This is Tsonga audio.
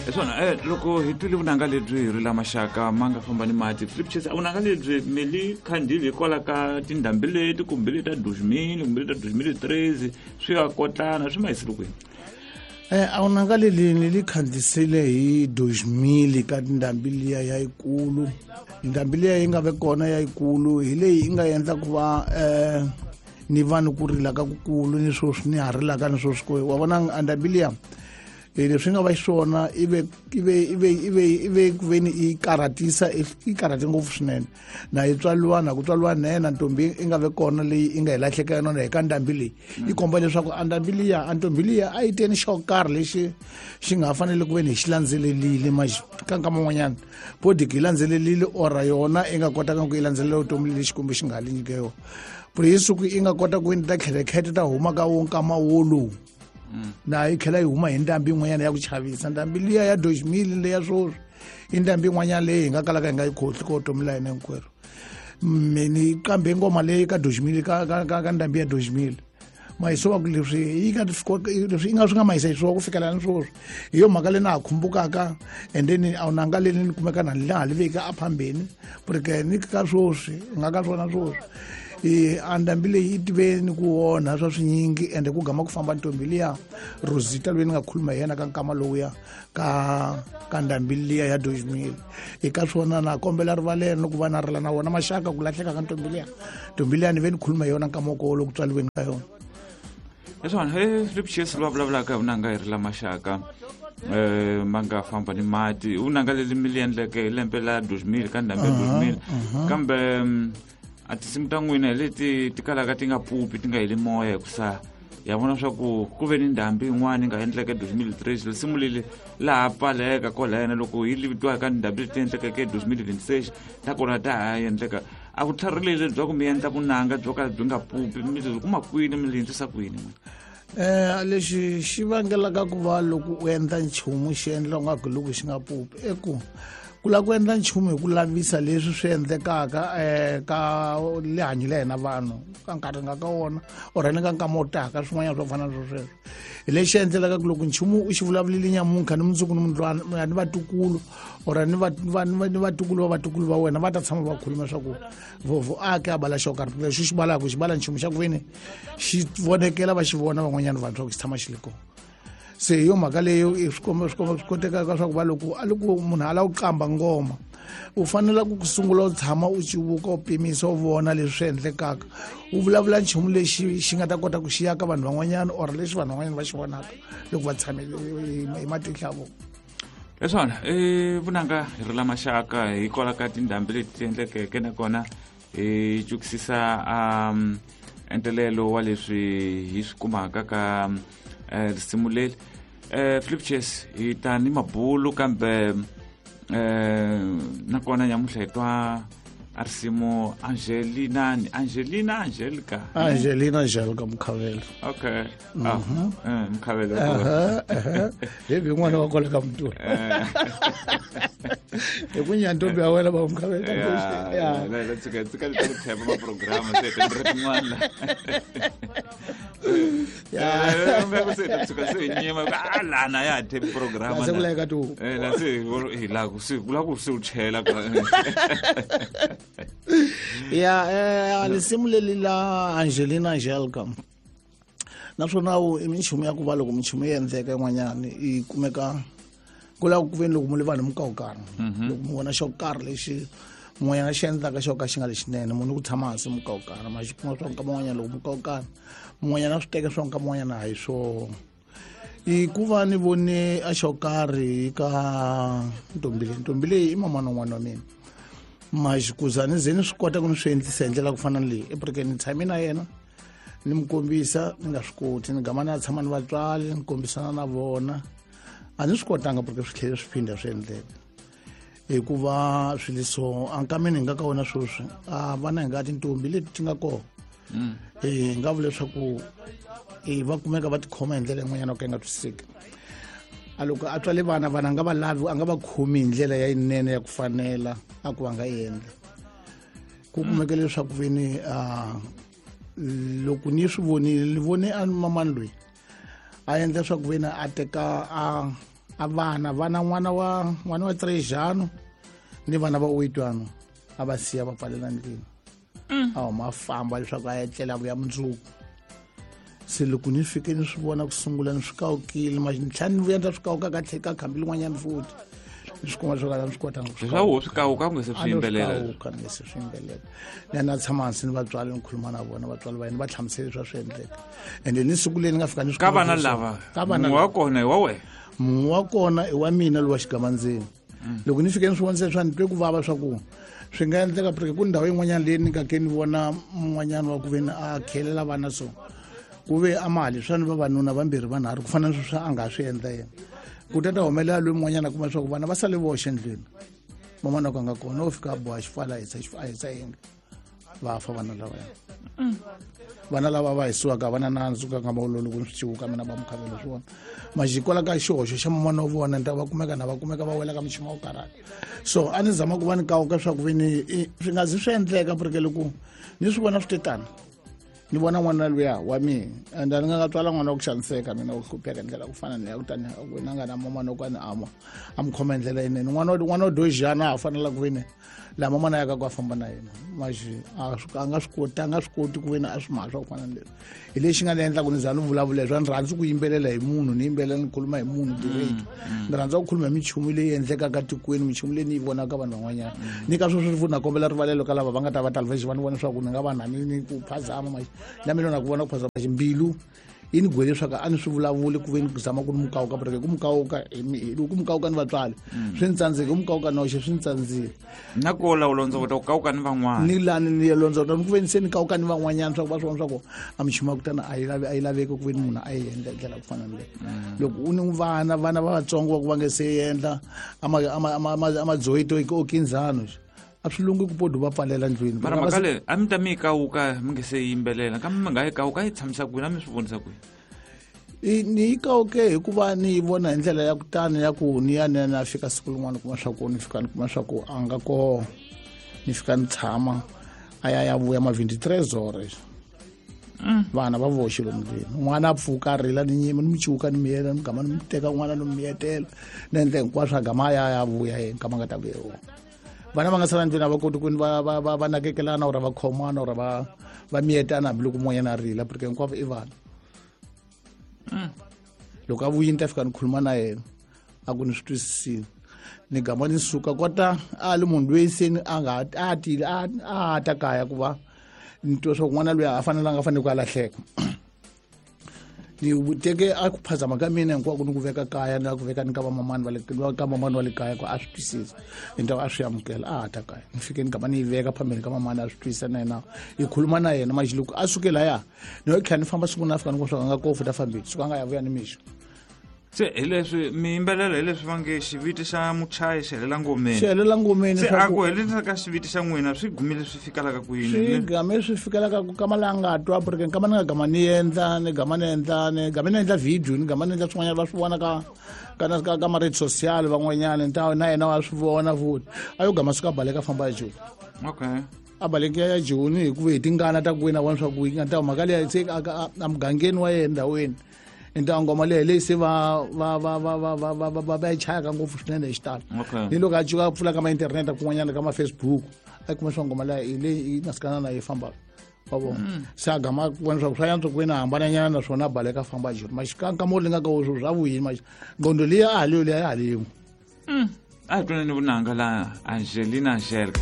Hi swona loko hi twile vunanga lebyi hi ri la maxaka ma nga famba ni mati, Philip Chase, a vunanga lebyi mi li khandile hikwalaho ka tindhambi leti kumbe leti ta 2000 kumbe leti ta 2013, swi ya kotlana swi ma yisile kwini? A vunanga leli ni li khandlisile hi 2000 ka tindhambi liya ya yikulu. Ndhambi liya yi nga ve kona ya yikulu hi leyi yi nga endla ku va ni va ni ku rila ka kukulu, ni sweswi ni ha rilaka ni sweswi ku wa vona a ndhambi liya, leswi nga va xiswona ive ku veni yi karhatisa, yi karhate ngopfu swinene. Na yi tswaliwa na ku tswaliwa nene ntombi i nga ve kona leyi i nga hi lahleka yona hi ka ndhambi leyi. Yi komba leswaku a ndhambi liya, a ntombi liya a yi teni xo karhi lexi xi nga ha fanele ku veni hi xi landzelelile ka nkama wun'wanyana bodiki yi landzelelile ora yona i nga kotaka ku yi landzelela vutomi lexi Xikwembu xi nga ha li nyike yona. Puri hi siku i nga kota ku veni ta kherekhete ta huma ka wo nkama wolowu, na yi tlhela yi huma hi ndhambi yin'wanyana ya ku chavisa. Ndhambi liya ya 2000 leya swoswi i ndhambi yin'wanyana leyi hi nga kalaka hi nga yi khohli ka vutomi la hina hinkwerhu. Me ni qambe ngoma leyi ka 2000 ka ndhambi ya 2000, mayiso wa ku leswi yi nga leswi yi nga swi nga mayisa xiswona ku fikela ni swoswi. Hi yo mhaka leyi na ha khumbukaka, and then a wu nanga leli ni kumeka na laha li veka aphambeni porque ni ka swoswi nga ka swona swoswi. A ndhambi leyi yi tive ni ku onha swa swinyingi, ende ku gama ku famba ntombi liya Rosita loyi ni nga khuluma hi yena ka nkama lowuya ka ndhambi liya ya 2000. Eka swona na kombela rivalelo ni ku va na rila na wona maxaka ku lahleka ka ntombi liya. Ntombi liya ni ve ni khuluma hi yona nkama wa koho loku tswaliweni ka yona. Hi swona, Philip Chase loyi a vulavulaka hi vunanga hi ri la maxaka ma nga famba ni mati, vunanga leli mi li endleke hi lembe la 2000 ka ndhambi ya 2000. Kambe a tinsimu ta n'wina hi leti ti kalaka ti nga pupi, ti nga heli moya, hikusa ya vona swa ku ku ve ni ndhambi yin'wana yi nga endleka 2003, risimu leli laha pfaleka kwalaya loko yi livitiwa ka ndhambi leti endlekeke 2026 ta kona ta ha endleka. A ku tlharileli bya ku mi endla vunanga byo ka byi nga pupi, mi byi kuma kwini, mi li endlisa kwini? Lexi xi vangelaka ku va loko u endla nchumu xi endla ungaku loko xi nga pupi i ku ku lava ku endla nchumu hi ku lavisa leswi swi endlekaka ka lihanyo la hina vanhu ka nkarhi nga ka wona or ni ka nkama wo taka swin'wanyana swo fana na swo sweswo. Hi lexi endlelaka ku loko nchumu u xi vulavulile nyamuntlha ni mundzuku ni mundlwana ni vatukulu or ni vatukulu va vatukulu va wena va ta tshama va khuluma swa ku vovo a ke a bala xo karhi, lexi xi balaka xi bala nchumu xa ku veni xi vonekela va xi vona van'wanyana vanhu swa ku xi tshama xi li kona. Se hi yo mhaka leyo i swi komba, swi komba swi kotekaka swa ku va loko a loko munhu a lava ku qamba ngoma u fanele ku sungula u tshama u civuka, u pimisa, u vona leswi swi endlekaka, u vulavula nchumu lexi xi nga ta kota ku xiya ka vanhu van'wanyana or lexi vanhu van'wanyana va xi vonaka loko va tshamile hi matihlo ya vona. Hi swona, i vunanga hi ri la maxaka hikwalaho ka tindhambi leti ti endlekeke, nakona hi cukisisa entelelo wa leswi hi swi kumaka ka risimu leri. Philip Chase, hi ta ni mabulu, kambe nakona nyamuntlha hi twa a risimu Angelina, Angelina, Angelica. Angelina Angelica Mukhavelo. Okay, ah, Mukhavelo. Hi vi n'wana wa kwale ka Mutula, hi ku nyantombi ya wena va Mukhavelo. Ya tsika tsika leta ku thepa maprograma se tindre tin'wana ya se ta tshuka se nyima a lana ya thepi programa. Se ku laveka tu. La se hi la ku se ku la ku se u chela. Ya, risimu leli la Angelina Angelica, naswona wu i minchumu ya ku va loko minchumu yi endleka yin'wanyana yi kumeka ku lava ku veni loko mu li vanhu mukawukana, loko mu vona xo karhi lexi mun'wanyana xi endlaka xo ka xi nga lexinene, munhu ku tshama hansi mukawukana ma xi kuma swa nkama wun'wanyana, loko mukawukana mun'wanyana swi teka swa nkama wun'wanyana a hi swona. I ku va ni vone a xo karhi ka ntombi leyi, ntombi leyi i mamana n'wana wa mina, maxi kuza ni ze ni swi kota ku ni swi endlisa hi ndlela ku fana na leyi epreke ni tshame na yena ni mi kombisa, ni nga swi koti ni gama ni ya tshama ni vatswari ni kombisana na vona, a ni swi kotanga porque swi tlhele swi phinda swi endleka hikuva swilo so ankameni hi nga ka wona sweswi a vana hi nga tintombi leti ti nga kona, hi nga vula leswaku va kumeka va tikhoma hi ndlela yin'wanyana yo ka yi nga twisiseki. A loko a tswale vana, vana a nga va lavi, a nga va khomi hi ndlela ya yinene ya ku fanela a ku va nga endla ku kumeka leswaku veni loko ni swi vonile, ni vone a mamani loyi a endla swa ku veni a teka a A vana vana n'wana wa Trejano ni vana va Oitwano a va siya va pfalela ndlwini. A huma a famba leswaku a etlela vuya mundzuku. Se loko ni fike ni swi vona ku sungula ni swi kawukile ma ni tlhela ni vuya ni ta swi kawuka ka tlhela ka khambi lin'wanyana futhi ni swi kuma leswaku a ni swi kotanga ku swi Leswaku wo swi kawuka ku nga se swi yimbelela. Kawuka ni se swi yimbelela. Ni ya na tshama hansi ni vatswari ni khuluma na vona vatswari va yena va hlamusela leswi a swi endleka. Ende ni siku leri ni nga fika ni swi Ka kuma vana leswaku- lava ka vana mun'we wa lava. kona i wa wena. Mun'we wa kona i wa mina lowa xigamandzeni. Loko ni fike ni swi vonisa swa ni twe ku vava swa ku swi nga endleka porque ku ndhawu yin'wanyana leyi ni nga ke ni vona mun'wanyana wa ku ve ni a khelela vana so ku ve a mali swa ni vavanuna vambirhi vanharhu ku fana na sweswi a nga swi endla yena ku ta ta humelela loyi mun'wanyana a kuma leswaku vana va sale voxe ndlwini van'wana ku a nga kona wo fika a boha xifala a hisa a hisa yindlu va fa vana lavaya. Vana lava va hisiwaka va na nandzu ka nkama wolowo loko ni swi ciwuka mina va mukhavelo swona majikwala ka xihoxo xa mamana wa vona ni ta va kumeka na va kumeka va wela ka muchini wa ku karhata. So a ni zama ku va ni kawuka swa ku ve ni swi nga zi swi endleka porque loko ni swi vona swi te tani ni vona n'wana luya wa mina and a ni nga nga tswala n'wana wa ku xaniseka mina ku hlupheka hi ndlela ku fana ni ya kutani wena nga na mamana wa ku a ni ama a mi khoma hi ndlela yinene n'wana wa dojana a fanela ku ve ni laha mamana ya ka ku a famba na yena maxi a nga swi koti a nga swi koti ku ve ni a swi mhaka swa ku fana ni leswi hi lexi nga ni endla ku ni za ni vulavula swa ni rhandzi ku yimbelela hi munhu ni yimbelela ni khuluma hi munhu direct. Ni rhandza ku khuluma hi minchumu leyi endlekaka tikweni minchumu leyi ni yi vonaka vanhu van'wanyana ni ka sweswo futhi na kombela rivalelo ka lava va nga ta va talvexi va ni vona leswaku ni nga va na ni ku phazama maxi na mina na ku vona ku phazama maxi mbilu yi ni gwele leswaku a ni swi vulavuli ku ve ni zama ku ni mukawuka porque ku mukawuka ku mukawuka ni vatswari swi ni tsandzeke ku mukawuka noxe swi ni tsandzile. Na ku la u londzovota ku kawuka ni van'wana. Ni lani ni ya londzovota ni ku ve ni se ni kawuka ni van'wanyana swa ku va swi vona swa ku a minchumu ya ku tana a yi lavi a yi laveki ku ve ni munhu a yi endla hi ndlela ku fana ni leyi. Loko u ni vana va vatsongo va ku va nge se endla a madzoyito o kinzano a swi lungi ku podu va pfalela ndlwini. Mara mhaka leyi a mi ta mi yi kawuka mi nge se yimbelela kambe mi nga yi kawuka yi tshamisa kwini a mi swi vonisa kwini? Ni yi kawuke hikuva ni yi vona hi ndlela ya ku tani ya ku ni ya ni ya ni fika siku rin'wana kuma swa ku ni fika ni kuma swa ku a nga koho ni fika ni tshama a ya ya vuya ma 23 horas. Vana va voxe lomu ndlwini n'wana a pfuka a rila ni nyima ni mu ciwuka ni miyela ni gama ni mu teka n'wana ni miyetela ni endla hinkwaswo a gama a ya ya vuya yena nkama nga ta vuya wona. Vana va nga sala ndlwini a va koti ku ni va nakekelana or va khomana or va miyetana hambiloko mun'wanyana a rila porque hinkwavo i vana. Loko a vuyini ta fika ni khuluma na yena a ku ni swi twisisile ni gama ni suka kota a li munhu loyi se ni a nga a tile a ta kaya ku va ni twa swa ku n'wana loyi a fanelanga a fanele ku a lahleka. Ni teke a ku phazama ka mina hinkwako ni ku veka kaya ni ku veka ni ka vamamani va le ka mamani wa le kaya ku a swi twisisa hi ntaku a swi amukela a ha ta kaya ni fike ni gama ni yi veka phambeni ka mamani a swi twisisa na yena hi khuluma na yena maxi loko a suke laya ni yo tlhela ni famba siku na fika ni ku swa nga kofu ta fambile suka nga ya vuya ni mixo. Se hi leswi miyimbelela hi leswi va nge xiviti xa muchayi xi helela ngomeni. Xi helela ngomeni. Se a ku helela ka xiviti xa n'wina swi gumile swi fikelaka kwini? Swi game swi fikelaka ku kama la nga twa porque nkama ni nga gama ni endla ni gama ni endla ni game ni endla video ni gama ni endla swin'wanyana va swi vona ka ka ka ka ma-rate social van'wanyana nta na yena wa swi vona futhi a yo gama suka baleka famba ya joni. A baleke ya joni hikuva hi tingana ta ku wena vona swa ku yi nga ta mhaka leyi se a mugangeni wa yena ndhawini nta ngoma leyi leyi se va va va va va va va va va yi chayaka ngopfu swinene hi xitalo. Ni loko a cuka a pfula ka ma-internet kun'wanyana ka ma-Facebook a kuma swa ngoma leyi hi leyi yi masikana na yi fambaka wa vona. Se a gama ku vona swa ku swa yantswa ku ve na hambananyana naswona a baleka a famba joni maxikankama wu lingaka wo swa vuyini maxi ngqondo liya a ha leyo liya ya ha leyin'we. A hi twaneni vunanga la Angelina Angelika.